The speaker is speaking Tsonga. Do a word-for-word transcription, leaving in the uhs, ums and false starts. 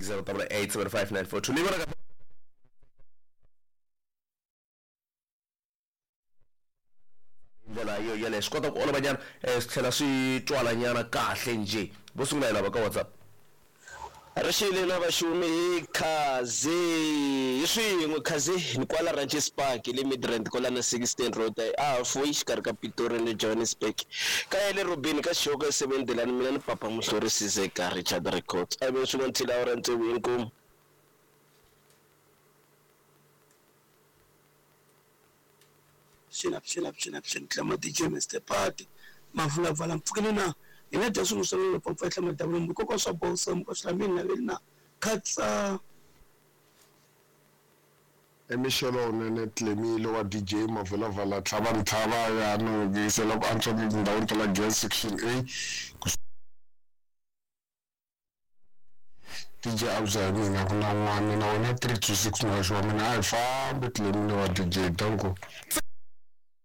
zero double eight seven five nine four two. Ni vona ka ndlela yo yeleyo swi kota ku olova nyana eh, swi tlhela swi twala nyana kahle njhe. Vo sungula hi lava ka WhatsApp. Rixile na vaxumi hi khaze hi swin'we khaze ni kwala Ranches Park le Midrand kwala na sixteen Road a halfway xikarhi ka Pretoria ni Johannesburg ka ya le Robini ka Xihoko seven Delani mina ni papa Muhlori Sizeka Richard Records a ve swin'we nthila awara tsevu inkomu. Xina xina xina xina tlama D J Mister Party mavulavala mpfukeni na ina dya swilo swa mina papa tlama dabula mukoko swa bosa mukoko swa mina na na khatsa. Emixelo nene Tlemile wa D J Mavulavala tlhava ntlhava ya no gisela ku antswa tindhawini ta la Gas Section A D J Abza hi mina ku na n'wana na wena three two six muhaxi wa mina a hi fambi Tlemile wa D J danko.